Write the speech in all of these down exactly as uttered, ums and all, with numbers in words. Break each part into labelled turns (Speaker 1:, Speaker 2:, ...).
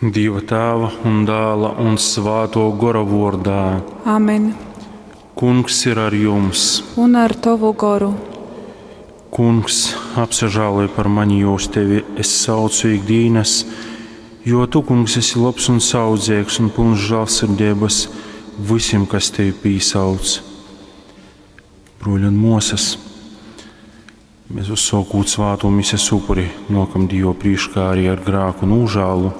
Speaker 1: Dieva Tēva un Dēla un Svāto Gora vordā.
Speaker 2: Amen.
Speaker 1: Kungs ir ar jums.
Speaker 2: Un ar tavu goru.
Speaker 1: Kungs, apsažāloj par mani, jo uz tevi es saucu ikdienas, jo tu, kungs, esi labs un saudzīgs un pilns žēlsirdības visiem, kas tevi pīsauc. Bruļi un mosas, mēs uzsākot svāto mises upuri, nokam Dievu priekšā arī ar grāku nožēlu,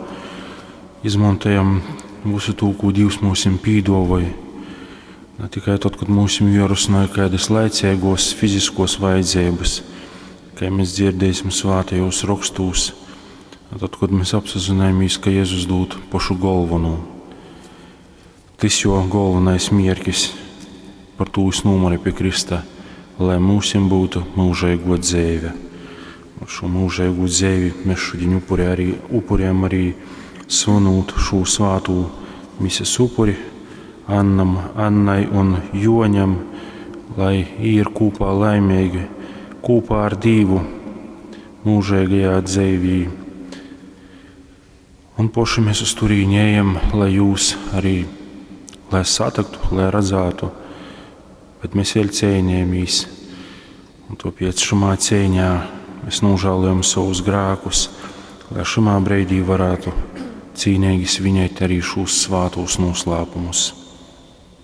Speaker 1: izmantojam visu to, ko Dievs mums pīdavoja. Ne tikai tad, kad mums jārusināja kādas laicīgos, fiziskos vajadzības, kā mēs dzirdēsim svātajos rakstos, tad, kad mēs apzināmies, ka Jēzus dod pašu galveno. Tas jo galvenais mierkis par to es nomari pie Krista, lai mums būtu mūžīgo dzīve. Un šo mūžīgo dzīvi mēs šodien upurē arī, upurējam arī svinot šo svāto mises upuri Annam, Annai un Joņam, lai ir kopā laimīgi, kopā ar Dievu mūžīgajā dzīvī. Un poši mēs uz turieni ejam, lai jūs arī, lai satiktu, lai redzētu, bet mēs vēl cīnāmies. Un tāpēc šajā cīņā mēs nožēlojam savus grēkus, lai šajā brīdī varētu cīnīgi svinēt arī šos svātos noslēpumus.